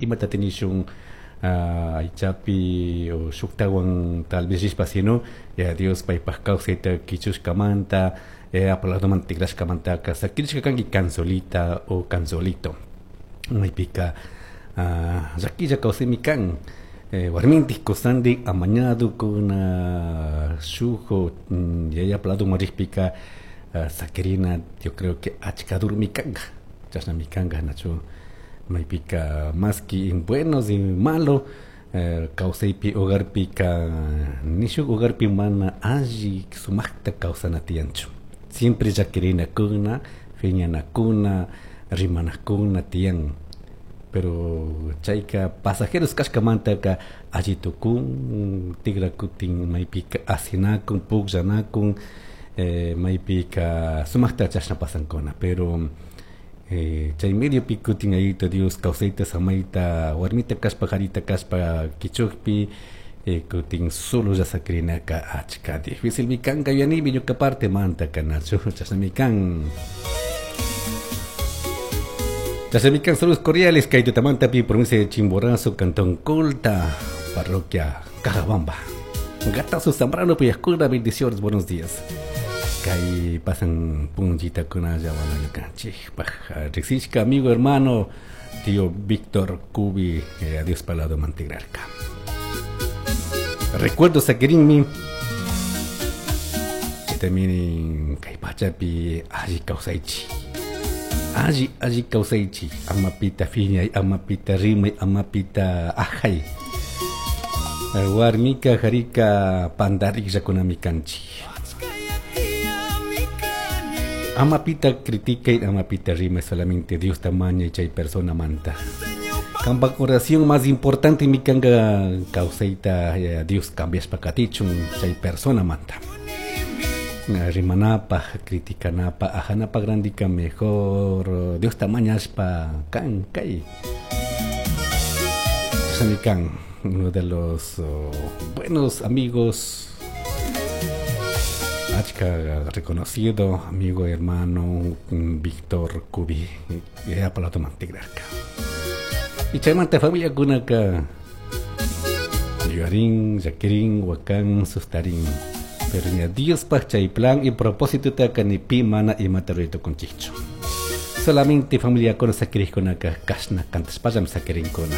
Imata tinishun aychapi o shuktawan tal vez rishpa, sino Yaya Dios paypaj kawsayta kichushkamanta, Yayapa ladoman tigrashkamantaka sakirishka kanki kan solita o kan solito. Maypika llakilla kawsaymi kan. Warmintik kusandik amañadokuna shuk Yayapa ladoman rikpika sakirina, yo creo que achka durmi kanka, chashnami kanka, nachu? Maypika maski en buenos y malo kawsaypi hogarpika, ni shuk hogarpi mana alli sumakta kawsana tiyanchu. Siempre llakirinakuna, phiñanakuna, rimanakuna tiyan, pero chayka pasajeros kashkamantaka alli tukun, tigrakutin maypika asinakun, pukllanakun, maypika sumakta chashna pasankuna. Pero chay mediopi kutin Yayito Dios kawsayta, samayta, warmita kashpa, karita kashpa kichukpi, kutin solo sakirinaka achka difícil mi kanka, yanimi ñuka parte mantaka, nachu? Chashnami kan, chashnami kan. Saludos cordiales kay tutamantapi, provincia de Chimborazo, cantón Colta, parroquia Cajabamba. Gatazo Zambrano Puyascura, bendiciones, buenos días. Kay pasan punchita kunalla, bueno, ñukanchikpaj riqsishka amigo, hermano, tío Víctor Cubi, adiós palado mantigrarka. Recuerdo sakirinmi también kay pachapi alli kawsaychi, alli alli kawsaychi, ama pita phiñay, ama pita rimay, ama pita ajay. Warmika karika pandarikllakunami kanchik. Ama pita critica, ama pita rimay, solamente Dios mañay chay persona manta. Kampak oración más importante mi kanga kawsayta Dios cambiashpa katichun chay persona manta. Rimanapa, criticanapa, ajanapa grandika mejor Dios mañashpa kan kay. Kan, uno de los buenos amigos, achka reconocido amigo, hermano Víctor Cubi, Yayapa mantigrarka. Y chaymanta familia kunaka yuyarin, llakirin, wakan, sustarin. Pero ña Diospaj chay plan y propósito taka ni pi mana imata ruray tukunchikchu. Solamente familia kuna sakirikkunaka kashna kantashpallami sakirinkuna.